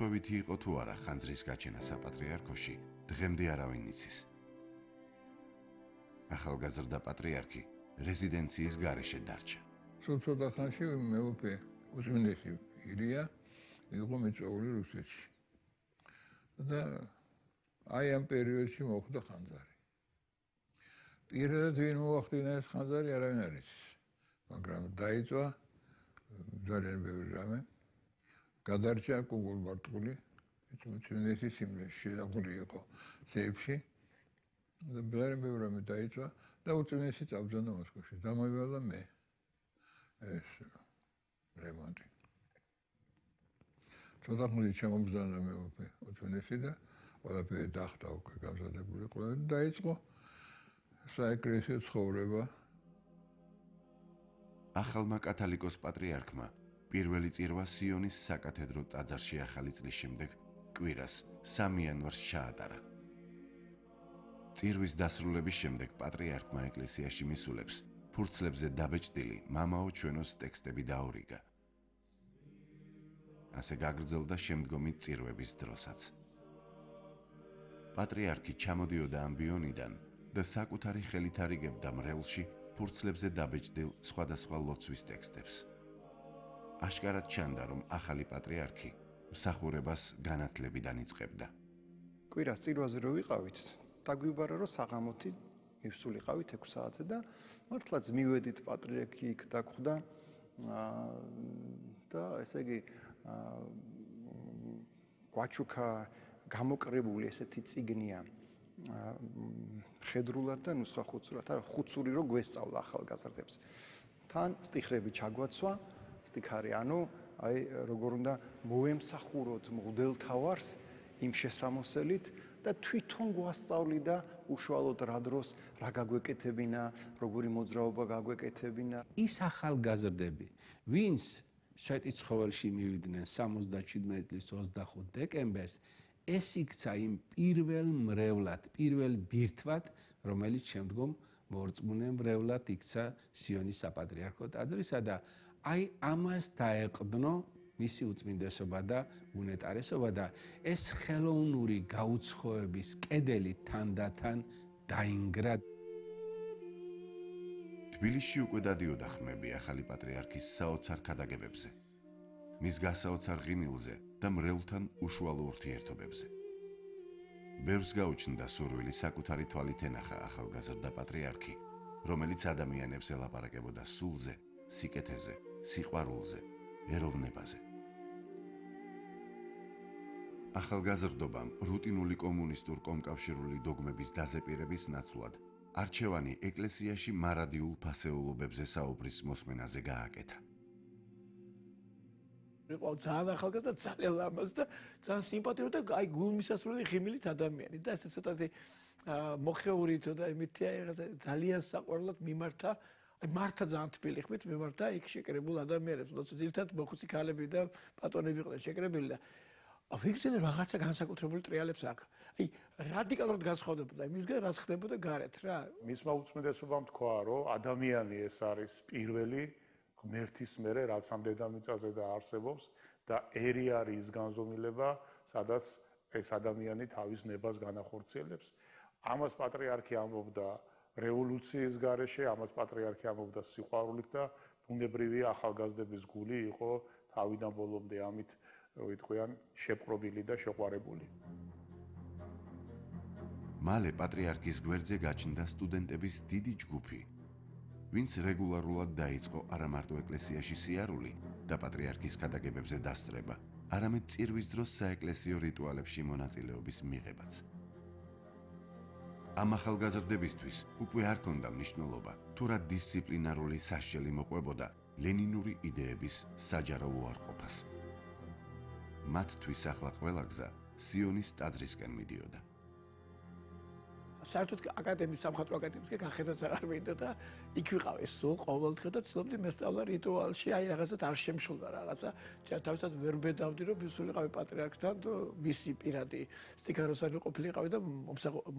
შემთხვევითი იყო თუ არა ხანძრის გაჩენა საპატრიარქოში, დღემდე არავინ იცის. ახალგაზრდა პატრიარქი რეზიდენციის გარეშე დარჩა. სულ ცოტა ხანში მეუფე უზმინესი ილია იყო მიწვეული რუსეთში. და აი ამ პერიოდში მოხდა ხანძარი. პირადად ვინ მოახდინა ეს ხანძარი არავინ არ იცის. მაგრამ დაიწვა ძალიან ბევრი რამე. გადარჩა კუგულბარტყული, უზმინესი სიმლეში შედაღული იყო სეიფში. და ძალიან ბევრი რამე დაიწვა და უზმინესი წავზანა მოსკოვში. დამოივალა მე ეს რემონტი. ცოტა ხნით შემოგზავნა მეუფე უზმინესი და ყველაფერი დახტა უკვე გამზადებული იყო და დაიწყო საეკლესიო ცხოვრება. ახალმა კათალიკოს პატრიარქმა პირველი წირვა სიონის საკათედრო ტაძარში ახალი წლის შემდეგ კვირას 3 იანვარს ჩაატარა. წირვის დასრულების შემდეგ პატრიარქმა ეკლესიაში მისულებს ფურცლებზე დაბეჭდილი მამაო ჩვენოს ტექსტები დაურიგა. ასე გაგრძელდა შემდგომი წირვების დროსაც. პატრიარქი ჩამოდიოდა ამბიონიდან და საკუთარი ხელით არიგებდა მრევლში ფურცლებზე დაბეჭდილ სხვადასხვა ლოცვის ტექსტებს. აშკარად ჩანდა, რომ ახალი პატრიარქი მსახურებას განათლებიდან იწყებდა. კვირას წირვაზე რო ვიყავით, დაგვიბარა რომ საღამოთი მივსულიყავით 6 საათზე და მართლაც მივედით პატრიარქი იქ დაგხვდა და ესე იგი გვაჩუქა გამოკრებული ესეთი წიგნია ხედრულად და ნუსხა ხუცურად, არა ხუცური რო გვესწავლა ახალგაზრდებს. თან სტიხრები ჩაგვაცვა, სტიქარი, ანუ აი როგორ უნდა მოემსახუროთ მღვდელთავარს იმ შესამოსელით და თვითონ გვასწავლიდა უშუალოდ რა დროს რა გაგვეკეთებინა, როგორი მოძრაობა გაგვეკეთებინა. ის ახალგაზრდები, ვინც შეტიცხოველში მივიდნენ 77 წლის 25 დეკემბერს, ეს იქცა იმ პირველ მრევლად, პირველ ბირთვად, რომელიც შემდგომ მორწმუნე მრევლად იქცა სიონის საპატრიარქო ტაძრისა და აი ამას დაეყდნო მისი უწმინდესობა და უნეტარესობა და ეს ხელოვნური გაუცხოების კედელი თანდათან დაინგრა. თბილისში უკვე დადიოდა ხმები ახალი პატრიარქის საოცარ ქადაგებებზე, მის გასაოცარ ღიმილზე და მრევლთან უშუალო ურთიერთობებზე. ბევრს გაუჩნდა სურვილი საკუთარი თვალით ენახა ახალგაზრდა პატრიარქი, რომელიც ადამიანებს ელაპარაკებოდა სულზე, სიკეთეზე, სიყვარულზე, ეროვნებაზე. ახალგაზრდობამ რუტინული კომუნისტურ კომკავშირული დოგმების დაზეპირების ნაცვლად არჩევანი ეკლესიაში მარადიულ ფასეულობებზე საუბრის მოსმენაზე გააკეთა. იყო ძალიან ახალგაზრდა, ძალიან ლამაზ და ძალიან სიმპათიური და აი გულმისასვლელი ღიმილით ადამიანი და ესე ცოტათი მოხეურითო და იმითია ძალიან საყვარლად მიმართა. აი მართა ძალიან თბილი ხმით მიმართა იქ შეკრებულ ადამიანებს, როცა ძირითადად მოხუცი ქალები და პატრონები იყვნენ შეკრებილი და ვიგზელე რაღაცა განსაკუთრებული ტრიალებს აქ. აი რადიკალურად განსხვავდებოდა იმისგან, რაც ხდებოდა გარეთ რა. მისმა უწმიდესობამ თქვა, რომ ადამიანი ეს არის პირველი ღმერთის მერე, რაც ამ დედამიწაზე და არსებობს და ერი არის ის განზომილება, სადაც ეს ადამიანი თავის ნებას განახორციელებს. ამას პატრიარქი ამბობდა რევოლუციის გარეშე, ამას პატრიარქი ამბობდა სიყვარულით და ბუნებრივი ახალგაზრდების გული იყო თავიდან ბოლომდე ამით ვიტყვიან შეპყრობილი და შეყვარებული. მალე პატრიარქის გვერდზე გაჩნდა სტუდენტების დიდი ჯგუფი, ვინც რეგულარულად დაიწყო არა მარტო ეკლესიაში სიარული და პატრიარქის ქადაგებებზე დასწრება, არამედ წირვის დროს საეკლესიო რიტუალებში მონაწილეობის მიღებაც. ამ ახალგაზრდებისთვის უკვე არ ქონდა მნიშვნელობა, თუ რა დისციპლინარული საშელი მოყვებოდა ლენინური იდეების საჯარო უარყოფას. მათთვის ახლა ყველა გზა სიონის ტაძრისკენ მიდიოდა. საერთოდ აკადემიის სამხატვრო აკადემიისკენ გახედაც აღარ მინდა და იქ ვიყავ ეს სულ ყოველდღე და ცდილობდი მესწავლა რიტუალში, აი რაღაცად არ შემშულდა რაღაცა. თავისთავად ვერ ბედავდი რომ ვისულიყავი პატრიარქთან და მისი პირადი სტიქაროსანი ყოფილიყავი და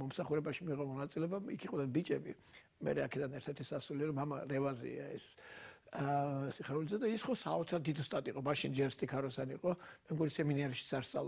მომსახურებაში მიიღო მონაწილეობა. იქ იყვნენ ბიჭები. მე აქედან ერთ-ერთი სასულიერო მამა რევაზია ეს სიხარულიძე და ის ხო საოცარ დიდ უსტატი იყო, მაშინ ჯერ სტიქაროსანი იყო, მე მგონი სემინარიაში არ სწავლობდა.